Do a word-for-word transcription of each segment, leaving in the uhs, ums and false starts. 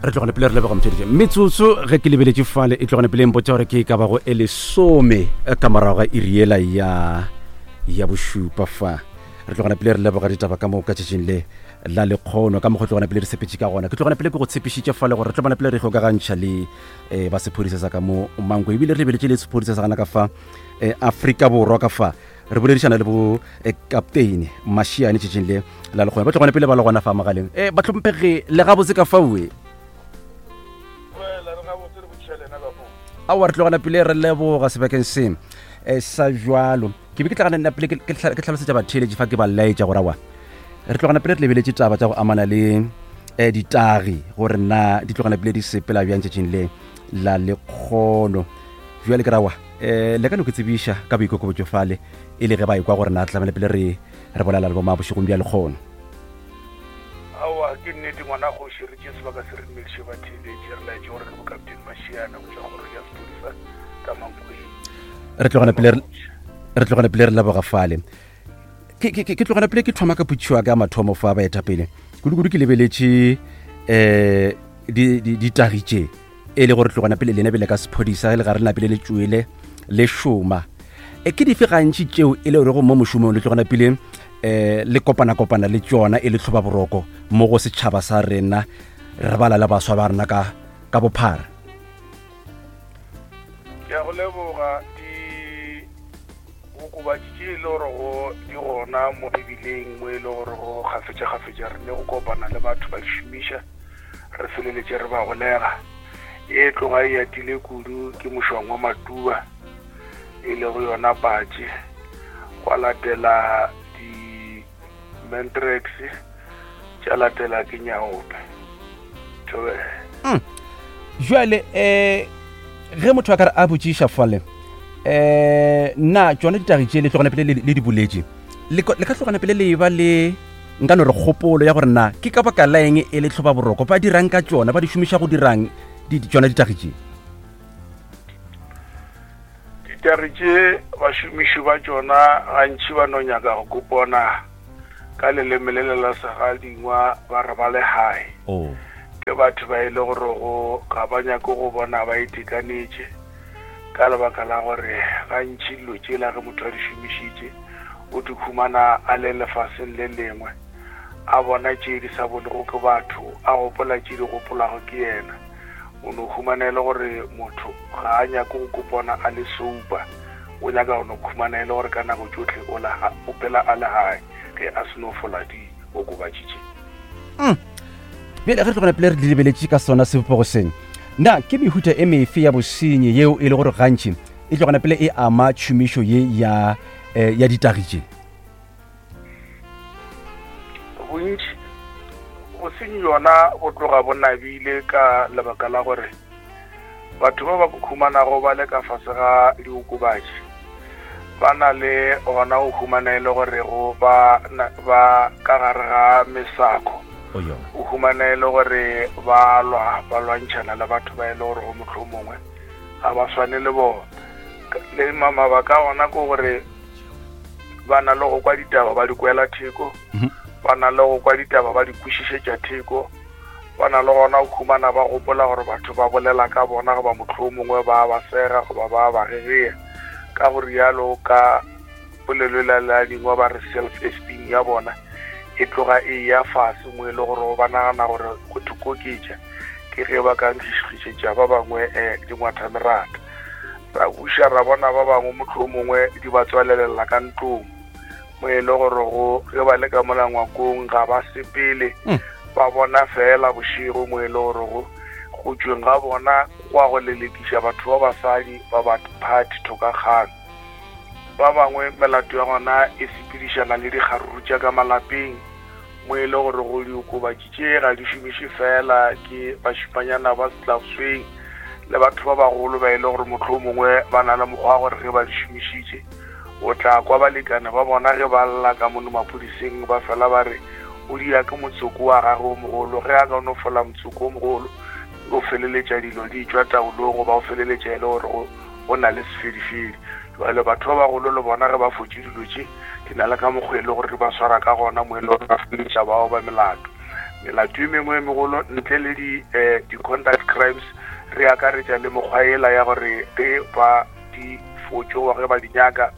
Re tlogane pele re leboga motheletše metsotso ge ke lebeletše fale e tlogane pele mpotsa gore ke e ka bago e lesome ka morago ga iri yela ya ya bošupa fa. Re tlogana pele re leboga ditaba ka mo ka tšatšing le la lekgono ka mokgwa tlogana pele re sepetše ka gona. Ke tlogana pele ke go tshepišitše fale gore re tlogana pele re kgokagantšha le um ba sephodisa sa ka mo Mankwe, ebile re lebeletše le sephodisa sa gana ka fa um Afrika Borwa ka fa. Re boledišana le bo eh, captain Mashiane tšatšing le la lekgono, ba tlogana pele ba le gona fa magaleng. Um bahlomphegi le gabotse ka faue? Aowa, re tlogana pele re leboga sebakeng se um sa jwalo. Ke be ke tlagana nna pele ke hlalosetša batheeletši fa, ke ba laetša gore aowa re tlogana pele re lebeletše taba tša go amana le um ditagi gore na di tlogana pele di sepela bjang tšatšing le la lekgono. Bjale ke rawa um le ka no ke tsebiša ka boikokobetšo fale e le ge ba ekwa gore na tlamele pele re re bolela le bomang bošegong bja lekgono. Aowa, ke nnete ngwana kgoši, re tše sebaka se re dumediše batheeletši, re laetše gore ke bo Captain Mashiane go tšwa kgorong ya sephodisa ka Mankweng. Re tlogana pele re tlogana pele re leboga fale. Ke ke ke tlogana pele ke thoma ka potšišo ya ka mathomo fa baetapele, kudu-kudu ke lebeletše um ditagi tše e le gore tlogana pele lena bele ka sephodisa le ga re napile le tšwele le šoma, e ke dife gantši tšeo e le gorego mo mošomong le tlogana pele um le kopana-kopana le tšona e le tlhoba boroko mo go setšhaba sa rena, re bala le baswa ba rena ka ka bophara? Ke a go leboga. Diokobatši tše e le gorego di gona mo mebileng, mo e le gorego kgafetša-kgafetša re ne go kopana le batho ba di šomiša, re feleletše re ba golega. E tloga e atile kudu ke mošwang wa matuba, e lego yona patše, gwa latela di-Mandrax, tša latela ke nyaope. Thobela. Jwale um ge motho a ka re a botšiša fale um na tšona ditagi tše le tlogana pele le di boletše, le ka tlogana pele le ba le nka no re kgopolo ya gore na ke ka baka la eng e le tlhoba boroko, ba dirang ka tšona, ba di šomiša go dirang tšona ditagi tše? Ditagi tše bašomiši ba tšona gantši ba no nyaka go kopona ka leleme le le la segadingwa ba re ba le hae. Oh. Ke batho ba e le gorego ga ba nyake go bona ba itekanetše, ka lebaka la gore gantši dilo tšela ge motho a di šomišitše o di khumana a le lefaseng le lengwe, a bona tše di sa bonego ke batho, a gopola tše di gopolago ke yena. O no khumana e le gore motho ga a nyake go kopona a le sober, o nyaka go no khumana e le gore ka nako tšohle o la o phela a le hae ge a se no fola diokobatši tše. Bjale ge re tlogana pele re di lebeletše ka sona sebopego seng, na ke mehuta e mefe ya bosenyi yeo e le gore gantši e tlogana pele e ama tšhomišo ye ya eh, ya ditagi tše? Bontši bosenyi yona bo tloga bo nabile ka lebaka la gore batho ba ba khumanago ba le ka fase ga diokobatši ba na le gona go humana e le gore go ba ba ka gare ga mesako, o humana e le gore ba lwa ba lwantšhana le batho ba e le gore go mohlomongwe ga ba swane le bona. Le mabaka gona ke gore ba na le go kwa ditaba ba di kwela theko, ba na le go kwa ditaba ba di kwešišetša theko, ba na le gona go humana ba gopola gore batho ba bolela ka bona goba mohlomongwe ba ba sega goba ba ba gegea. Ka go rialo ka polelo la la dingwe ba re self esteem ya bona e tloga e ya fase, mo e le gore ba nagana gore go thokoketša ke ge ba ka nkgišetša ba bangwe um dingwathamerata. Ra buša ra bona ba bangwe mohlomongwe di ba tswalelela ka ntlong, mo e le gore go ge ba le ka mola ngwakong ga ba sepele, ba bona fela bošego, mo e le gore go go tšweng ga bona go a go lelekiša batho ba basadi ba ba phathi thokakgang. Ba bangwe melato ya gona e sepedišana le dikgaruru tša ka malapeng, mo e le gore go diokobatši tše ga di šomiše fela ke bašimanyana ba setlabosweng le batho ba bagolo ba e le gore mohlomongwe ba na le mokgwa wa gore ge ba di šomišitše o tla kwa balekane ba bona ge ba lla ka mono maphodiseng ba fela ba re o dia ke motsoko wa gagwe o mogolo, ge a ka no fola motsoko o mogolo o feleletša dilo di tšwa taolong goba o feleletša e le gore go na le sefedifedi. Jwale batho ba bagolo le bona ge ba fotše dilo tše di na le ka mokgwa e le gore di ba swara ka gona, mo e le gore ba feleletša bao ba melato. Melato e mengwe e megolo ntle le di eh, di-conduct crimes re akaretša le mekgwa ela ya gore ge ba di fotše goba ge ba di nyaka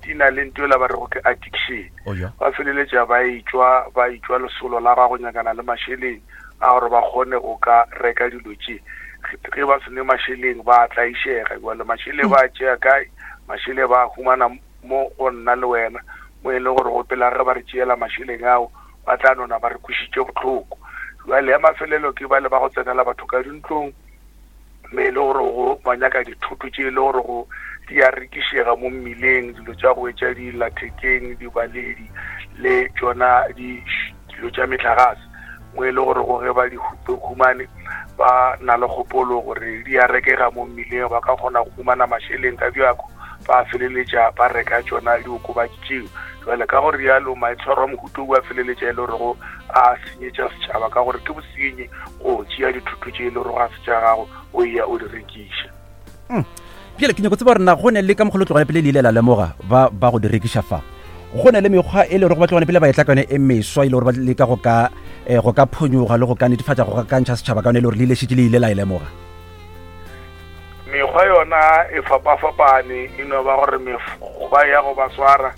di na le nto ela ba rego ke addiction. Oh ja. Ba feleletša ba etšwa ba etšwa lesolo la gago nyakana le mašeleng a gore ba kgone go ka reka dilo tše. Ge ba se ne mašeleng ba tlaišega, jwale mašeleng ba tšea kae? Mašeleng ba humana mo go nna le wena, mo e le gore go pela ge ba re tšeela mašeleng ao ba tla nona ba re kwišitše bohloko. Jwale ya mafelelo ke ba le ba go tsenela batho ka dintlong, mme e le gore go ba nyaka dithoto tše e le gore go di a rekišega mo mmileng, dilo tša go etša dillathekeng, dibaledi le tšona dilo tša metlagase, mo e le gore go ge ba di humane ba na le kgopolo gore di a rekega mo mmileng, ba ka kgona go humana mašeleng ka bjako, ba feleletša ba reka tšona diokobatši tšeo. Jwale ka gore rialo maitshwaro a mohuta o a feleletša e le gore go a senyetša setšhaba, ka gore ke bosenyi go tšea dithoto tše e le gore ga se tša gago o ya o di rekiša. Bjale ke nyako tseba gore na go ne le ka mokgwa le tlogane pele le ile la lemoga ba ba go di rekiša fa, go ne le mekgwa e le gore ba tlogane pele ba etla ka yone e meswa e le gore ba leka go ka eh, go ka phonyoga le go ka netefatša go ka ntšha setšhaba ka yone e le gore le ile šetše le ile la e lemoga? Mekgwa yona e fapafapane, e no ba gore mekgwa ya go ba swara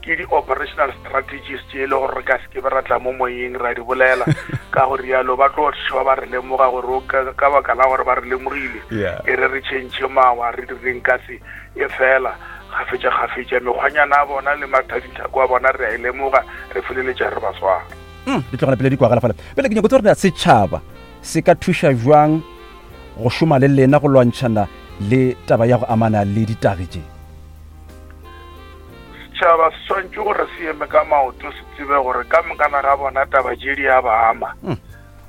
ke di-operational strategies tše e le gore re ka se ke be ra tla mo moyeng ra di bolela, ka gore rialo ba tlo tšhaba ba re lemoga gore ka baka la gore ba re lemogile e re re tšhentšhe mawa re direng ka se e fela kgafetša kgafetša mekgwanyana a bona le mathadithako a bona re a e lemoga, re feleletša re ba swara. Di tlogela pele di kwagala fela. Pele ke nyako tseba gore setšhaba se ka thuša jwang go šoma le lena go lwantšhana le taba ya go amana le ditagi tše? Setšhaba se swanetše gore se eme ka maoto, se tsebe gore ka mokana ga bona taba tše di a ba ama.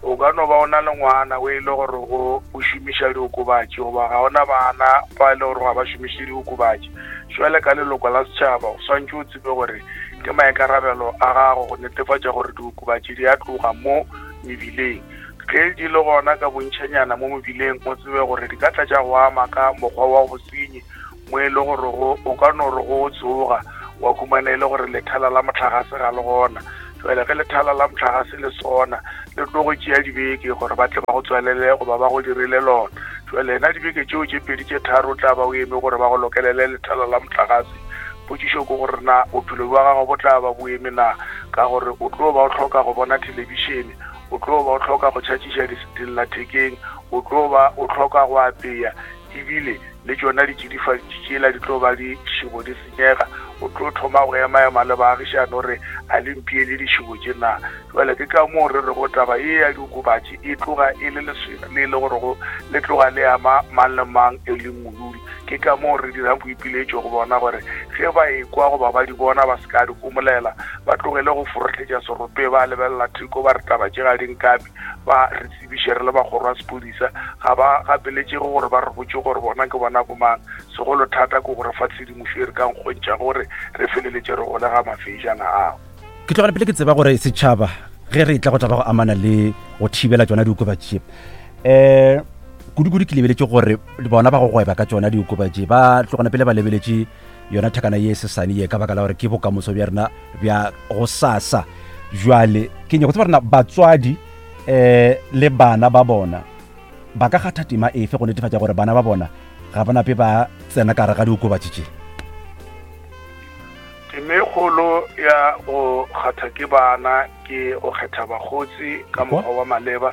O ka no ba o na le ngwana o e le gore go o šomiša diokobatši, goba ga ona bana ba e le gore ga ba šomiše diokobatši. Jwale ka leloko la setšhaba o swanetše o tsebe gore ke maikarabelo a gago go netefatša gore diokobatši di a tloga mo mebileng. Ge di le gona ka bontšhanyana mo mebileng, o tsebe gore di ka tla tša go ama ka mokgwa wa bosenyi, mo e le gore o ka no re go tsoga wa humana e le gore lethala la motlagase ga le gona. Jwale ge lethala la motlagase le sona le tlo go tšea dibeke gore ba tle ba go tswalele goba ba go dirile lona. Jwale ena dibeke tšeo tše pedi tše tharo o tla ba o eme gore ba go lokelele lethala la motlagase. Potšišo ke gore na bophelo bja gago bo tla ba bo eme na, ka gore o tlo ba o hloka go bona thelebišene, o tlo ba o hloka go tšhatšiša dillathekeng, o tlo ba o hloka go apea, ebile le tšona ditšidifatši tšela di tlo ba di šebo di senyega. O tlo thoma go ema-ema le baagišane gore a le mpiele dišebo tše na. Jwale ke ka moo re rego taba ye ya diokobatši e tloga e le leswena le e le gore go le tloga le ama mang le mang e leng modudi. Ke ka moo re dirang boipiletšo go bona gore ge ba ekwa goba ba di bona ba se ka di homolela, ba tlogele go forohletša serope, ba lebelela theko ba re taba tše ga di nkame, ba re tsebiše re le bakgoro ba sephodisa. Ga ba gapeletšege gore ba re botše gore bona ke bona bomang, segolo thata ke gore fa tshedimošo e re ka nkgontšha gore re feleletše re golega mafejana ao. Ke tlogela pele ke tseba gore setšhaba ge re tla go taba go amana le go thibela tšona diokobatši tše, um kudu-kudu ke lebeletše gore bona ba go gweba ka tšona diokobatši ba tlogana pele ba lebeletše yona thakana ye sesane ye ka baka la gore ke bokamoso bja rena bja go sasa. Jwale ke nyako tseba rena batswadi um le bana ba bona ba ka kgatha tema efe go netefatša gore bana ba bona ga ba nape ba tsena ka gare ga diokobatši tše? Tema e kgolo ya go kgatha ke bana ke go kgetha bakgotsi ka mokgwa wa maleba.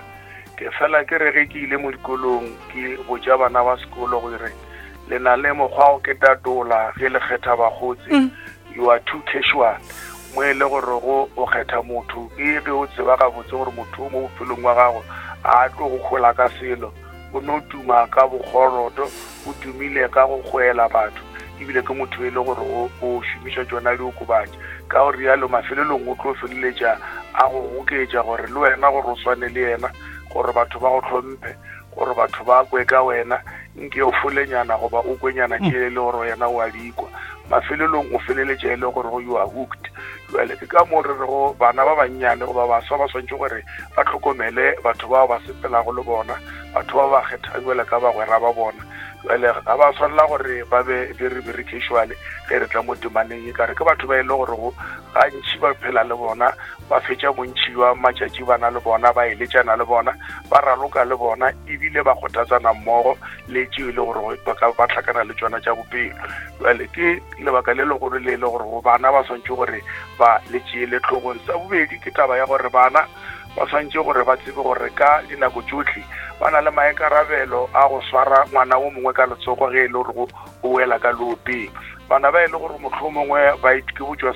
Ke fela ke re ge ke ile mo dikolong ke botša bana ba sekolo gore le na le mokgwa go ketatola ge le kgetha bakgotsi, you are too casual, mo e le gore go o kgetha motho ke ge o tseba gabotse gore motho o mo bophelong wa gago a tlo go hola ka selo, o no tuma ka bokgoroto, o tumile ka go kgwela batho, ebile ke motho e le gore o šomiša tšona diokobatši. Ka gore rialo mafelelong o tlo feleletša a go goketša gore le wena gore o swane le yena, gore batho ba go hlomphe, gore batho ba kwe ka wena, nke o folenyana goba o kwenyana tše e le gore yena o a di kwa. Mafelelong o feleletša e le gore you are hooked. Jwale ke ka moo re rego bana ba bannyane goba baswa ba swanetše gore ba hlokomele batho bao ba sepelago le bona, batho ba ba kgethang jwale ka bagwera ba bona. Jale ga ba tshwanela gore ba be very very casual ge re tla mo temaneng e kare ke batho ba e le gore go gantši ba phela le bona, ba fetša bontši bja matšatši ba na le bona, ba eletšana le bona, ba raloka le bona, ebile ba kgothatsana mmogo le tšeo e le gore ba ka ba tlhakana le tšona tša bophelo. Jale ke lebaka le legolo le e le gore go bana ba swantše gore ba le tšeele tlhogong. Sa bobedi ke taba ya gore bana ba swantše gore ba tsebe gore ka dinako tšohle ba na le maikarabelo a go swara ngwana o mongwe ka letsogo ge e le gore o wela ka leopeng. Bana ba e le gore mohlomongwe ba ke botšwa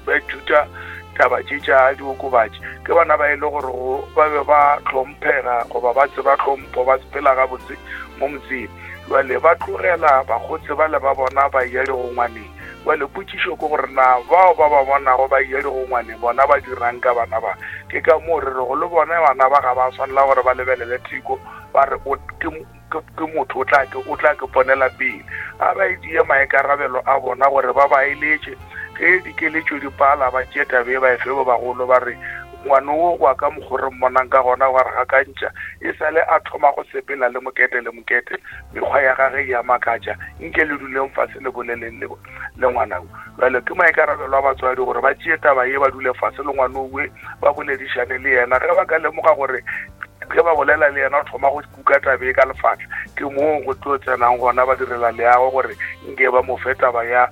ba ithuta taba tše tša diokobatši ke bana ba e le gore ba be ba hlomphega goba ba tseba tlhompho, ba phela gabotse mo motseng. Jale ba tlogela bakgotsi ba le ba bona ba ya digongwaneng. Jale potšišo ke gore na bao ba ba bonago ba ya digongwaneng bona ba dirang ka bana ba? Ke ka moo re rego le bona bana ba ga ba tshwanela gore ba lebelele theko ba re ke ke motho o tla ke o tla ke ponela pele. A ba e maikarabelo a bona gore ba ba eletše ge dikeletšo di pala, ba tšee tabe ba e fe ba bagolo, ba re ngwana o wa ka mokgwa re mmonang ka gona wa re gakantšha, e sale a thoma go sepela le mokete le mokete, mekgwa ya gage ya makatša, nke le duleng fase le boleleng le le ngwana o. Jale ke maikarabelo a batswadi gore ba tšee taba ye, ba dule fase le ngwana owe, ba boledišane le yena. Ge ba ka lemoga gore ge ba bolela le yena o thoma go kuka tabe ka lefatla, ke moo go tlo tsenang gona ba direla leago gore nke ba mo fe taba ya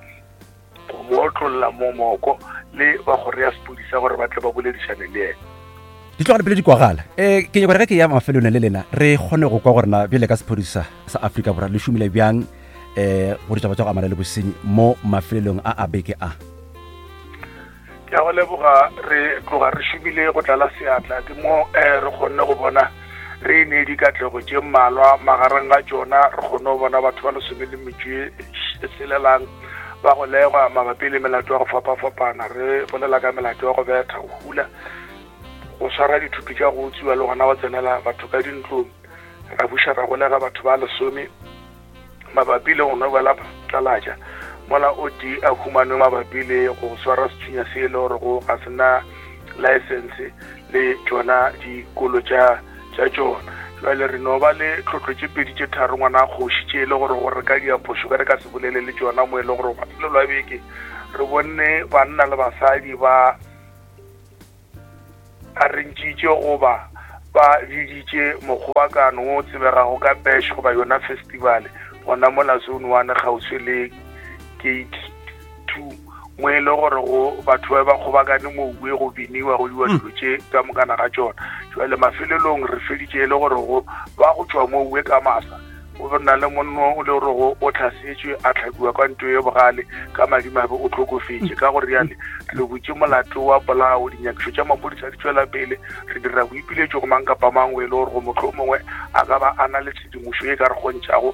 go mo otlolla mo moko le ba kgoro ya sepodisa gore ba tle ba boledišane le yena. Di tlogale pele di kwagala. um ke nyaka gore ge ke ya mafelong le lena re kgone go kwa gorena bjale ka sephodisa sa Afrika Borwa le šomile bjang um go ditaba tša go amana le bosenyi mo mafelelong a a beke a. Ke a go leboga. Re tloga re šomile go tlala seatla, ke mo um re kgonne go bona re ne dikatlego tše mmalwa. Magareng ga tšona re kgonne go bona batho ba lesome le metšo e selelang ba go legwa mabapi le melato ya go fapafapana. Re bolela ka melato ya go betha, go hula, go swara dithuto tša go utswiwa le gona go tsenela batho ka dintlong. Ra buša ra golega batho ba lesome mabapi le go nobela phatlalatša, mola o tee a humanwe mabapi le go swara sethunya se e le gore go ga sena license le tšona dikolo tša tša tšona. Jale re no ba le tlhotlho tše pedi tše tharo ngwana a kgoši tše e le gore gore ka diaphošo ka re ka se bolele le tšona, mo e le gore mafelelo a beke re bonne banna le basadi ba arrangitše goba ba biditše mokgobakano wo tsebegago ka bash goba yona festival gona mola Zone One kgauswi le Gate Two, mo e le gore go batho ba ba kgobakane moue go biniwa go diwa dilo tše ka mokana ga tšona. Jale mafelelong re feditše e le gore go ba go tšwa moue ka masa go na le monno o le gore go o tlhasetšwe a tlhakiwa ka nto ye bogale, ka madimabe o tlhokofetše. Ka gore yale re butše molato wa polao, dinyakišo tša maphodisa di tšwela pele. Re dira boipiletšo go mang kapa mang o e le gore go mohlomongwe a ka ba a na le tshedimošo e ka re kgontšhago.